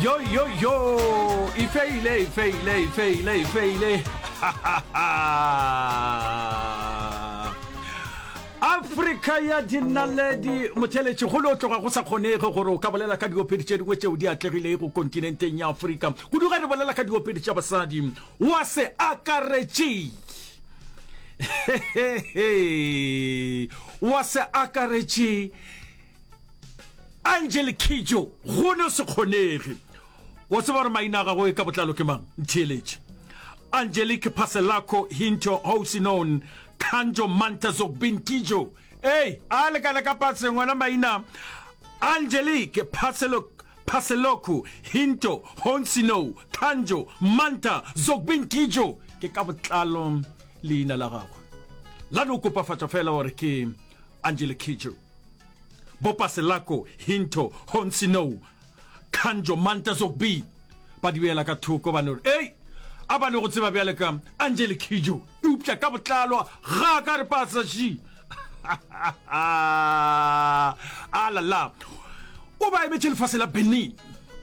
Yo yo yo, e feile, e feile, e feile, e feile. Afrika ya dinaledi motheletši go lo tloga go sa kgonege gore o ka bolela ka diopedi tše dingwe tšeo di atlegilego kontinenteng ya Afrika kudu ge re bolela ka diopedi tša basadi wa se akaretše wa se akaretše Angel Kidjo, go no se kgonege. Wa tseba gore maina a gagwe ka botlalo ke mang? Ntheeletše. Angelique Paselako Hinto Housinon Kanjo Manta Zogbin Kidjo. Ei, a lekana ka patseng wena maina. Angelique Paselo Paseloku Hinto Housinou Kanjo Manta Zogbin Kidjo ke ka botlalo leina la gagwe. La no kopafatša fela gore ke Angelique Kidjo. Bopaselako, Hinto, Honsinou, Kanjo, Manta Zogby ba di beela ka thoko ba no re, Ei, a ba no go tseba bjale ka Angelique Kidjo, eupša ka botlalo ga ka re pasa ši. A la la. O ba emetše lefase la Benin.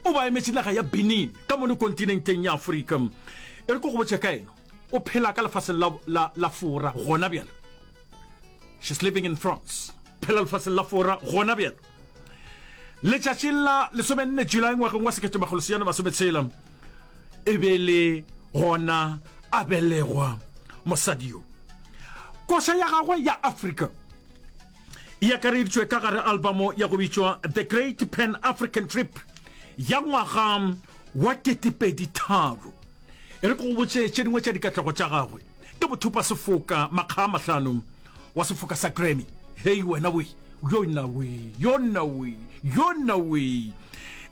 O ba emetše naga ya Benin ka mono kontinenteng ya Afrika. E re ke go botše ka ena. O phela ka lefaseng la, la, la Fora gona bjale. She's living in France. Phela lefaseng la Fora gona bjalo. Letšatšing la lesomenne July ngwageng wa 1960 e be le gona a belegwa mosadi yo. Koša ya gagwe ya Afrika e akareditšwe ka gare albamo ya go bitšwa The Great Pan African Trip ya ngwaga wa 2003. E re ke go botše tše dingwe tša dikatlego tša gagwe. Ke mothupa sefoka makga a mahlano wa sefoka sa Grammy. Hei wena we, yo nna we, yo nna we, yo nna we.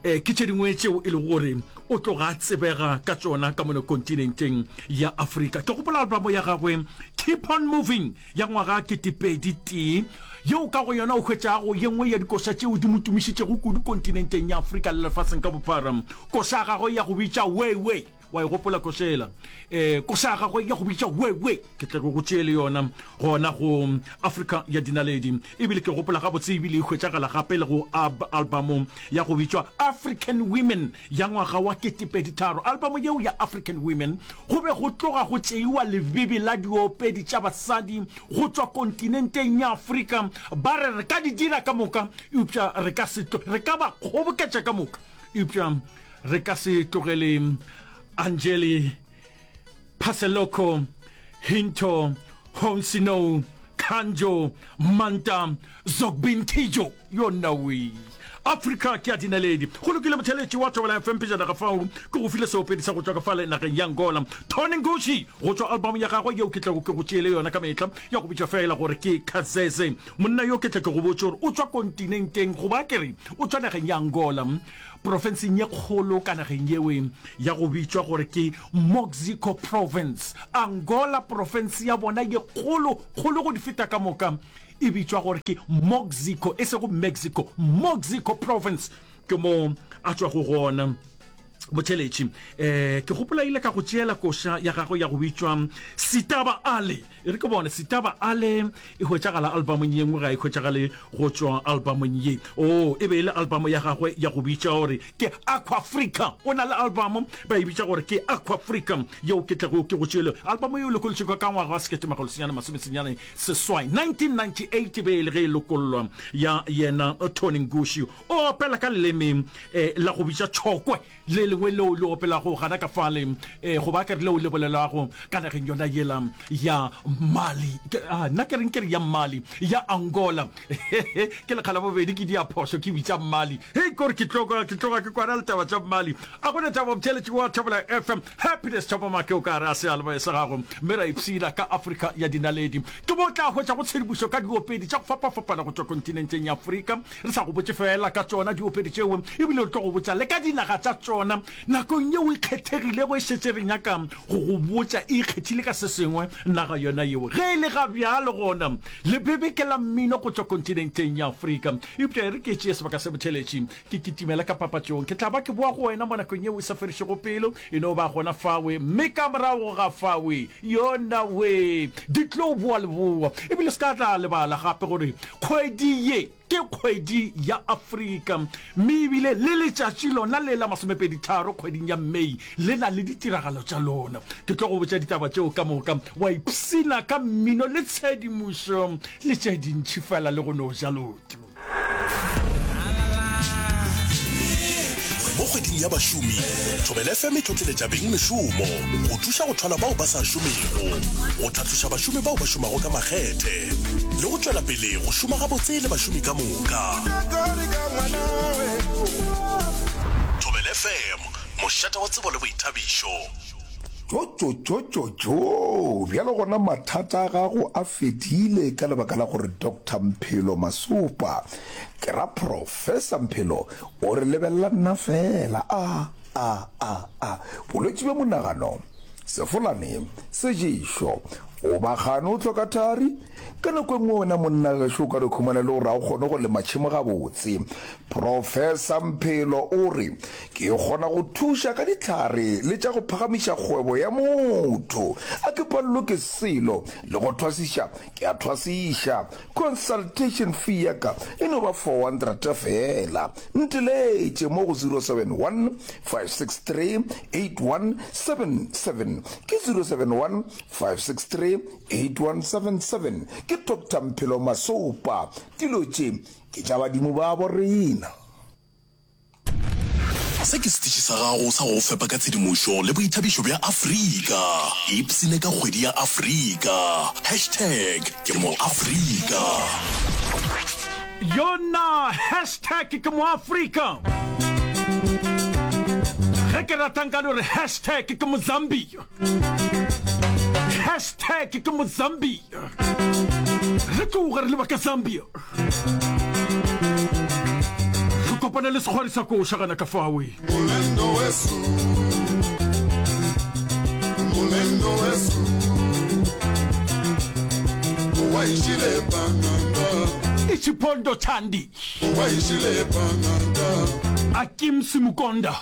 E, ke tše dingwe tšeo e lego gore o tloga a tsebega ka tšona ka mono kontinenteng ya Afrika. Ke gopola albamo ya gagwe Keep on Moving ya ngwaga ketepedi tee, yeo ka go yona o hwetšago ye nngwe ya dikoša tšeo di mo tumišitšego kudu kontinenteng ya Afrika le lefaseng ka bophara. Koša ya gagwe ya go bitša Way Way. Wa e gopola koša yela? E, koša ya gagwe ya go bitša We We, ke tle ke go tšee le yona gona go Afrika ya Dinaledi. Ebile ke gopola gabotse ebile e hwetšagala gape le go ab albamo ya go bitšwa African Women ya ngwaga wa ketepeditharo. Albamo yeo ya African Women go be go tloga go tšeiwa lebebe la diopedi tša basadi go tšwa kontinenteng ya Afrika, ba re re ka di dira ka moka eupša re ka se tlo, re ka ba kgoboketša ka moka eupša Re ka se tlogele Angeli, Phaseloko, Hinto, Honsinou, Kanjo, Manta, Zogbinkijo. Yo nna wee. Afrika ke ya dinaledi. Go lokile motheletši wa Thobela FM pejana ga fao ke go file seopedi sa go tšwa ka fale nageng ya Angola. Tony Ngushi go tšwa album ya gagwe yeo ke tlago ke go tšeele yona ka mehla ya go bitšwa feela gore ke Kazeze. Monna yo ke tle ke go botše gore o tšwa kontinenteng goba ke re o tšwa nageng ya Angola. Profenseng ye kgolo ka nageng yewe ya go bitšwa gore ke Moxico Province, Angola, profense ya bona ye kgolo kgolo go di feta ka moka e bitšwa gore ke Moxico, e sego Mexico, Moxico Province ke mo a tšwago gona. Botheletši, eh, ke gopola ile ka go tšeela koša ya gagwe ya go bitšwa Sitaba Ale. E re ke bone, Sitaba Ale e hwetšagala albamong ye nngwe, ga e hwetšagale go tšwa albamong ye. Oo, e be e le albamo ya gagwe ya go bitša gore ke Aquafrica. O na le albamo ba e bitša gore ke Aquafrica, yeo ke tlago ke go tšeele. Albamo yeo e lokolotšwe ka ngwaga wa 1988, 1998 e be e le ge e lokollwa, ya yena Tony Ngushi. O opela ka leleme eh, la go bitša tšhokwe, le lengwe leo le opelago gana ka fale, eh, goba ke re leo le bolelago ka nageng yona yela ya Mali. Ke, ah, nna ke reng ke re ya Mali, ya Angola. Ke lekga la bobedi ke dia phošo ke bitša Mali. Hei, kore ke tloga, ke tloga ke kwana le taba tša Mali. A gona taba motheeletši wa Thobela FM, Happiness Thobamake o ka re a seyalemoya sa gago, mme ra ipshina ka Afrika ya dinaledi. Ke mo o tla hwetšago tshedimošo ka diopedi tša go fapafapana go tšwa kontinenteng ya Afrika. Re sa go botše feela ka tšona diopedi tšeo, e bile re tlo go botša le ka dinaga tša tšona. Nakong yeo e kgethegilego e šetše re nyaka go go botša e ikgethile ka se sengwe naga yona yeo. Ge e le ga bjalo gona, lebebe ke la mmino go tšwa kontinenteng ya Afrika. Eupša e re ke tšee sebaka se botheletši ke kitimele ka papatšong. Ke tla ba ke boa go wena mo nakong yeo e sa fedišego pelo. E no ba gona fawe, mme ka morago ga fawe, yona we, di tlo boa leboa. E bile se ka tla lebala gape gore kgwedi ye. Ke kgwedi ya Afrika, mme ebile le letšatši lona le la masomepeditharo kgweding ya May le na le ditiragalo tša lona. Ke tlo go botša ditaba tšeo ka moka, wa ipshina ka mmino le tshedimošo le tše dintši fela le go no ja loto. Mo kgweding ya bašomi, Thobela FM e tlotleletša bengmešomo go thuša go thwala bao ba sa šomego, go tlhatloša bašomi bao ba šomago ka makgethe le go tšwela pele go šoma gabotse le bašomi ka moka. Thobela FM, mošate wa tsebo le boithabišo. Tšotšotšotšotšo! Bjalo gona mathata a gago a fedile ka lebaka la gore Doctor Mphelo Masopa, ke ra Professor Mphelo, o re lebelela nna feela. A, a, a, a. Bolwetši bja monagano, sefolane, seješo, goba kgane o hloka thari? Ka nako e nngwe wena monna gešo o ka no khumana e le gore ga o kgone go lema tšhemo gabotse. Professor Mphelo o re, Ke kgona go thuša ka dihlare le tša go phagamiša kgwebo ya motho. A ke palelwe ke selo, le go thwasiša ke a thwasiša. Consultation fee ya ka e no ba 400 feela. Nteletše mo go 071 563 8177. Ke 071 563 8177. Ke Doctor Mphelo Masopa. Dilo tše ke tša badimo babo rena. Se ke setiši sa gago sa go go fepa ka tshedimošo le boithabišo bja Afrika. Ipshine ka kgwedi ya Afrika. Hashtag ke moAfrika. Yona hashtag ke moAfrika. Ge ke rata nka no re hashtag ke moZambia. Hashtag ke moZambia. Re tloga re leba ka Zambia. Re kopane le sekgwari sa koša gana ka fawe. Molendo wesu, molendo wesu, waishile panganda. Ichipondo Chandi. Waishile panganda. Akim Simukonda.